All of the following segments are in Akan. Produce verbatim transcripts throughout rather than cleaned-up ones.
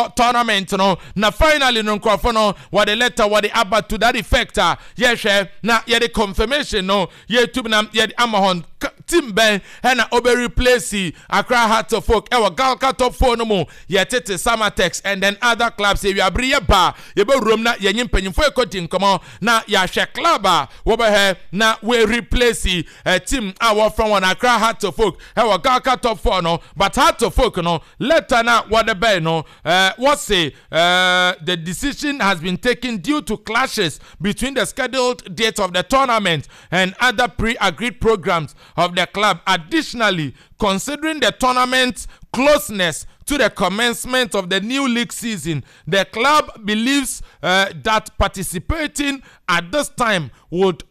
Wɔbɛbɔ tournament no na finally no, nkurɔfo no wɔde letter wɔde aba to that effect a yɛhwɛ na yɛde confirmation no yɛtum na yɛde ama hɔn. Team bɛn ɛna ɔbɛ replace Accra Hearts of Oak ɛwɔ GHALCA Top Four no mu? Yɛtete Samatex and then other clubs. Ewiabere yɛ ba, yɛbɛwurom na yɛnye mpanyinfoɔ ekɔdi nkɔmɔ na yɛahwɛ club a wɔbɛhɛ na wɔ replace ɛ team a wɔfrɛ wɔn Accra Hearts of Oak ɛwɔ GHALCA Top Four no. But Hearts of Oak no, letter na wɔde bɛn no, ɛɛ wɔse ɛɛ the decision has been taken due to clashes between the scheduled date of the tournament and other pre-agreed programs of the club. Additionally, considering the tournament's closeness to the commencement of the new league season, the club believes uh, that participating at this time would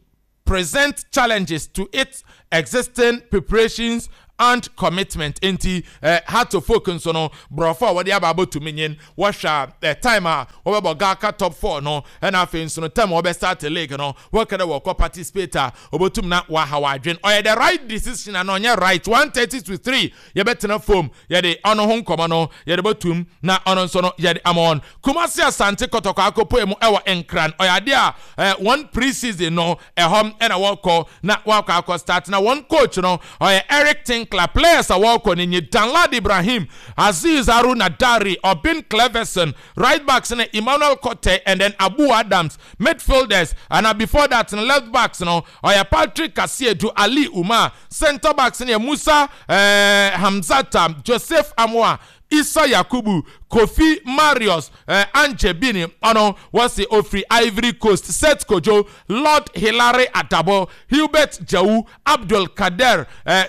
present challenges to its existing preparations and commitment. Nti eh, Hearts of Oak nso no, borɔfo a wɔde aba abɔtumi nyin wɔhwɛ a, eh, time a wɔbɛbɔ GHALCA Top Four no, ɛna afei nso no time a wɔbɛ start league no, wɔkɛ dɛ wɔkɔ participate a, wɔbɛtum na wɔaha wɔadwen. Ɔyɛ the right decision ana ɔnyɛ right? One thirty to three, yɛbɛtena fam, yɛde ɔno ho nkɔmɔ no yɛde bɛtum na ɔno nso no yɛde ama wɔn. Kumasi Asante Kɔtɔkɔ akɔpɔ mu ɛwɔ Nkran. Ɔyɛ adeɛ a eh, wɔn pre-season no ɛhɔ ɛna wɔkɔ na wɔakɔ akɔ start, na wɔn coach no ɔyɛ Eric Tinkler. Players a wɔkɔ no nye Danlad Ibrahim, Aziz Haruna Dari, Obin Cleverson. Right backs no, Emmanuel Kote and then Abu Adams. Midfielders and uh, before that no, left backs no ɔyɛ Patrick Kasiedu, Ali Umar. Center backs no yɛ Musa eh, Hamzata, Joseph Amoa, Isa Yakubu, Kofi Marius eh, Anje Bini, ɔno wɔsi ofiri Ivory Coast, Seth Kojo, Lord Hilary Adabo, Hubert Jawu, Abdul Kader eh,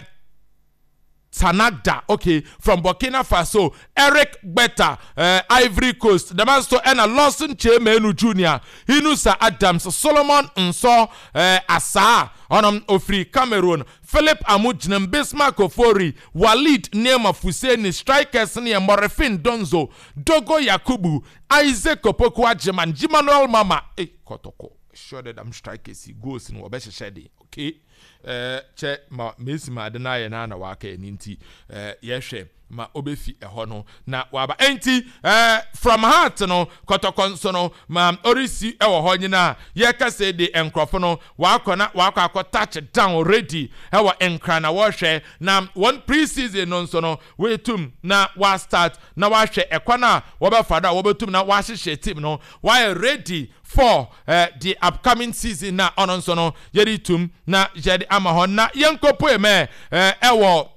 Tanagda, okay, from Burkina Faso, Eric Beta, uh, Ivory Coast. The man so ɛna Lawson Chemenu Junior, Inusa Adams, Solomon Nso, uh, Asa, ɔnom ofiri Cameroon, Philip Amujinem, Bismarck Ofori, Walid Neema Fuseni. Strikers ne Morifin Donzo, Dogo Yakubu, Isaac Opoku Agyemang, Emmanuel Mama. Eh, Kotoko. Sure that I'm strikers goals no wɔbɛhyehyɛ de. Okay. Ɛɛ kyɛ ma mesi ma ade no ayɛ na na waka ɛni, nti ɛɛ yɛhwɛ ma ɔbɛfi ɛhɔ no na waba. Ɛnti ɛɛ from Heart no, Kɔtɔkɔ nso no ma ɔresi ɛwɔ hɔ nyinaa. Yɛkasa de, nkurɔfo no wakɔ na wakɔ akɔ touch down already ɛwɔ Nkran na wɔrehwɛ na wɔn pre-season no nso no wɔetum na wa start na wahwɛ ɛkwan a wɔbɛfa do a wɔbɛtum na wahyehyɛ team no wayɛ ready for uh, the upcoming season. Na ɔno nso no yɛde tum na yɛde ama hɔ na yɛnkɔpoe mɛ ɛwɔ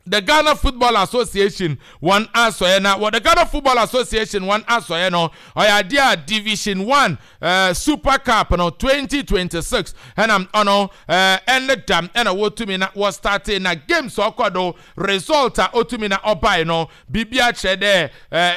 the Ghana Football Association wɔn asɔyɛ. Na wɔ the Ghana Football Association wɔn asɔyɛ no, ɔyɛ adeɛ a Division One uh, Super Cup no twenty twenty-six ɛna ɔno ɛne dam ɛna wɔtumi na wɔ start na games ɔkɔ do. Result a ɔtumi na ɔbae no, biribi akyerɛ dɛ ɛɛ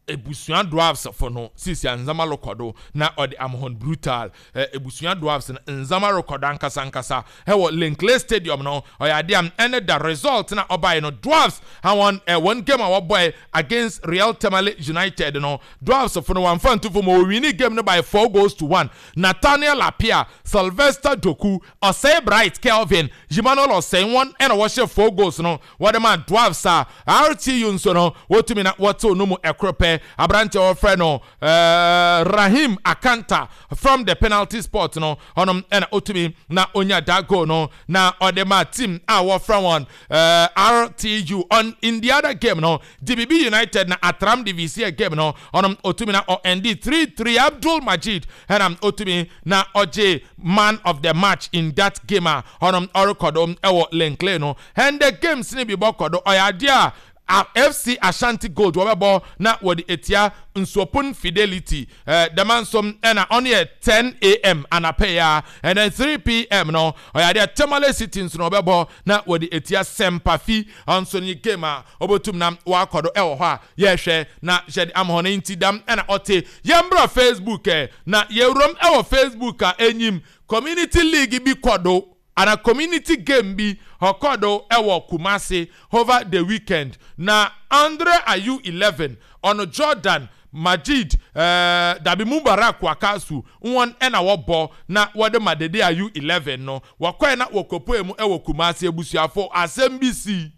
Ebusua Dwarfs fo no sisi a nzama rekɔ do na ɔde amahɔn brutal. ɛ Ebusua Dwarfs no nzama rekɔ do ankasa ankasa ɛwɔ Len Clay Stadium no. Ɔyɛ adeɛ a ɛne da result na ɔbaeɛ no, Dwarfs awɔn ɛ wɔn game a wɔbɔɛ against Real Tamale United no, Dwarfs fo no wɔnfa ntufo ma wɔ win game no by four goals to one. Nathaniel Apia, Sylvester Doku, Ɔsɛe Bright, Kelvin Emmanuel Ɔsɛe wɔn ɛna wɔhyɛ four goals no wɔde ma Dwarfs. A R T U nso no wɔtumi na wɔtew no mu ɛkoro pɛ. Aberanteɛ wɔfrɛ no uh, Rahim Akanta from the penalty spot no, ɔnom ɛna otumi na onya that goal no na ɔde ma team a wɔfrɛ wɔn uh, R T U. On in the other game no, D B B United na Atram D V C game no, ɔnom otumi na ɔɛndi three three. Abdul Majid ɛna otumi na ɔgye man of the match in that game a ɔnom ɔrekɔdo ɛwɔ Len Clay no. And the games ne bi bɔ kɔdo, ɔyɛ adeɛ a F C Ashanti Gold wɔbɛbɔ na wɔde etia Nsuopon Fidelity ɛɛ dɛm nso ɛna ɔno yɛ ten a m anapɛ ya. And then three p m no, ɔyɛ adeɛ Tamale City nso na ɔbɛbɔ na wɔde etia Sɛmpafi. Ɔnso ne game a ɔbɛtum na wakɔ do ɛwɔ hɔ a yɛhwɛ na yɛde ama hɔ no. Nti dam ɛna ɔte yɛn bra Facebook ɛ na yɛwuram ɛwɔ Facebook a enyim community league bi kɔ do ana community game bi ɔkɔ do ɛwɔ Kumasi over the weekend. Na Andre Ayew eleven, ɔno Jordan Majid ɛɛ dabi Mubarak Wakasu wɔn ɛna wɔbɔ na wɔde ma Dede Ayew eleven no. Wɔkɔɛ na wɔkɔpɔɛ mu ɛwɔ Kumasi. Ebusuafo, asɛm bi si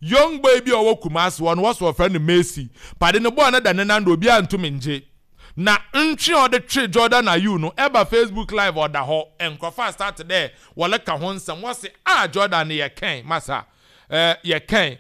Young boy bi a ɔwɔ Kumasi hɔ no, wɔsɔ wɔfrɛ no Messi. Pade ne bɔɔl no da ne nan do, obiara ntumi ngye. Na ntwe a ɔde twe Jordan Ayew no, ɛba Facebook Live, ɔda hɔ. Nkurɔfoɔ start dɛ wɔleka ho nsɛm. Wɔse a Jordan no yɛ kɛn masa, ɛɛ yɛ kɛn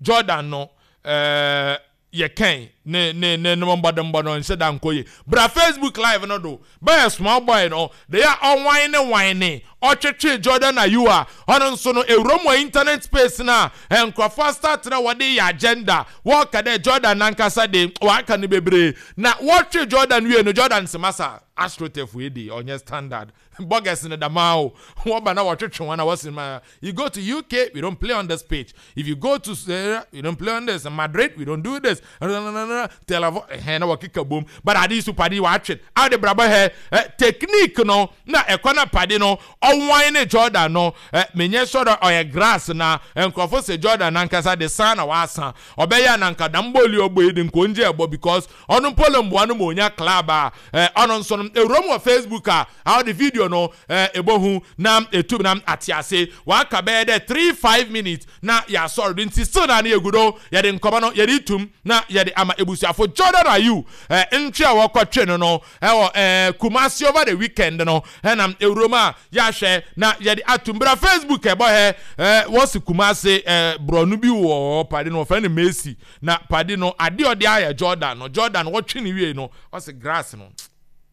Jordan no, ɛɛ yɛ kɛn ne ne ne ne mbɔdembɔ no nhyɛ da nkɔ yie. Bra Facebook Live no do, bɛyɛ small boy no de yɛ ɔwan ne wan ne ɔtwetwe Jordan Ayew a ɔno nso no ewuram wɔ internet space na nkurɔfoɔ start na wɔde yɛ agenda. Wɔka dɛ Jordan nankasa de waka no bebree na wɔtwe Jordan wie no, Jordan sɛ, "Masa, astroturf yi de ɔnyɛ standard burgers no dama o." Wɔba na wɔtwetwe wɔn na wɔsi ma, "You go to U K, we don't play on this pitch. If you go to uh, we don't play on this. Madrid, we don't do this. Tel Aviv." Ɛhɛn na wɔkeka bom, but ade so pade wɔatwe ade brabɔ hɛ ɛ technique no na ɛkɔ na pade no ɔwan ne Jordan no ɛ menyɛ sɔrɔ ɔyɛ grass. Na nkurɔfo sɛ Jordan nankasa de san na wasa ɔbɛyɛ ananka dambɔɔli ɔbɔ yi de nkongye ɛbɔ because ɔno mpo le mboa no ma onya club a ɛ ɔno nso no ewuram wɔ Facebook a a ɔde video no ɛ ebohu na etum na ate ase. Waka bɛyɛ dɛ three five minutes na yɛasɔre do, nti still na ne yɛgu do yɛde nkɔmɔ no yɛde tum na yɛde ama ebusuafo. Jordan Ayew ɛ ntwe a wɔkɔtwe no no ɛwɔ ɛɛ Kumasi over the weekend no, ɛnam ewuram a yɛahwɛ na yɛde atum. Bra Facebook, ɛbɔ hɛ ɛɛ wɔsi Kumasi ɛɛ borɔno bi wɔ hɔ, pade no wɔfrɛ no Messi, na pade no adeɛ ɔde ayɛ Jordan no, Jordan wɔtwe ne wie no, ɔsi grass no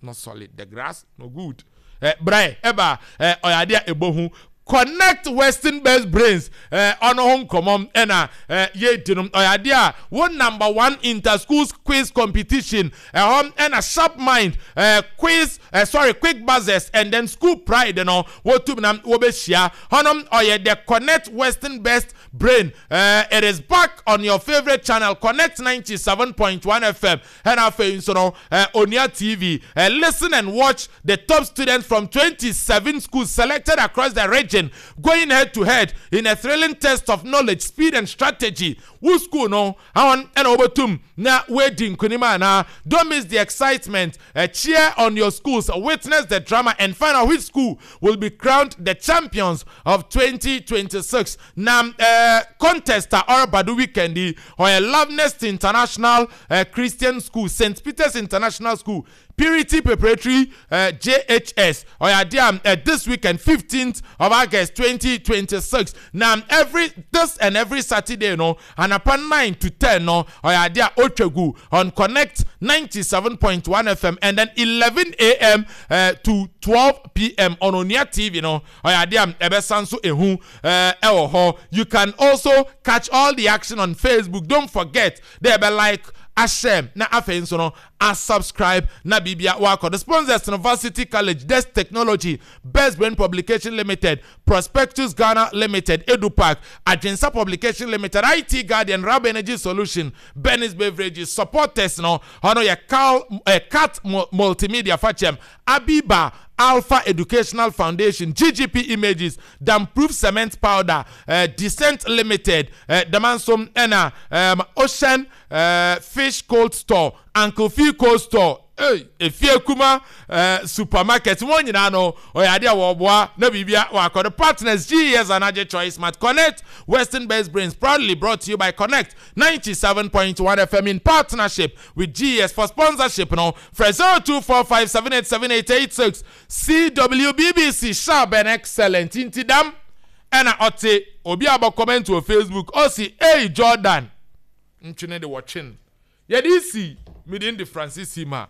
not solid, the grass no good. Ɛ brɛ ɛba ɛ ɔyɛ adeɛ a ɛbɔ ho. Connect Western Best Brains ɛ ɔno ho nkɔmɔ ɛna ɛ yɛdi no. Ɔyɛ adeɛ a wo number one inter schools quiz competition ɛhɔ ɛna Sharp Mind ɛ quiz ɛ sorry, Quick Buzzers and then School Pride no wɔtum na wɔbɛhyia hɔnom. Ɔyɛ the Connect Western Best Brain. uh, it is back on your favourite channel, Connect ninety-seven point one F M, ɛna afei nso no uh, Onua T V. uh, listen and watch the top students from twenty-seven schools selected across the region going head to head in a thrilling test of knowledge, speed and strategy. Wo school no àwọn ɛna wɔbɛtum na wɔadi nkunim anaa? Don't miss the excitement. uh, cheer on your schools, witness the drama and find out which school will be crowned the champions of twenty twenty-six. Na uh, contest a ɔreba do weekend yi, ɔyɛ Lovenest International uh, Christian School, Saint Peter's International School, Purity Preparatory uh, J H S. Ɔyɛ adeɛ a uh, this weekend, fifteenth of August twenty twenty-six. Na every this and every Saturday no, anapa nine to ten no, ɔyɛ adeɛ a otwa gu on Connect ninety-seven point one F M, and then eleven a m. Uh, to twelve p m on Onua T V no, ɔyɛ adeɛ a ɛbɛsan so ehu ɛwɔ hɔ. You can also catch all the action on Facebook. Don't forget dɛ ɛbɛ like, ahyɛ, na afei nso no a subscribe na biribia wakɔ. The sponsors no: Varsity College, Desk Technology, Best Brain Publication Limited, Prospectus Ghana Limited, Edupark, Adwensa Publication Limited, I T Guardian, Rab Energy Solution, Benis Beverages. Supporters no, ɔno yɛ Cal eh, Cat Multimedia, Fachem Abiba, Alpha Educational Foundation, G G P Images, Damproof Cement Powder, uh, Descent Limited, uh, Damansom ɛna um, Ocean uh, Fish Cold Store, Uncle Fee Cold Store, hey, Efie Kuma uh, Supermarket. Wɔn nyinaa no ɔyɛ adeɛ a wɔboa na biribia wakɔ. The partners: G E S Anagye Choice Smart. Connect Western Best Brains, proudly brought to you by Connect ninety-seven point one F M in partnership with G E S. For sponsorship no, frɛ zero two four five seven eight seven eight eight six. C W B B C, sharp and excellent. Nti dam ɛna ɔte obi a bɔ comment wɔ Facebook, ɔsi, "Hey, Jordan ntwene de wɔtwe yɛde si mede de Francis ma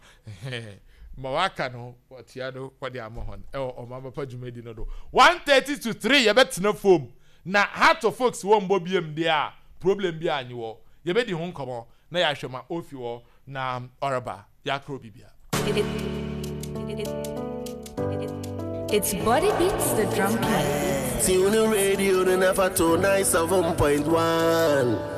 ma waka no wɔtia no wɔde ama hɔ ɛwɔ ɔman papa dwumadi no do." one thirty to three yɛbɛtena fam na Hearts of Oak wɔ mbɔ biem deɛ a problem bi anyi wɔ. Yɛbɛdi ho nkɔmɔ na yɛahwɛ ma ofi hɔ na ɔreba yɛakoro bibia. It's Body Beats the Drum King. Tune the radio to never to nine seven point one.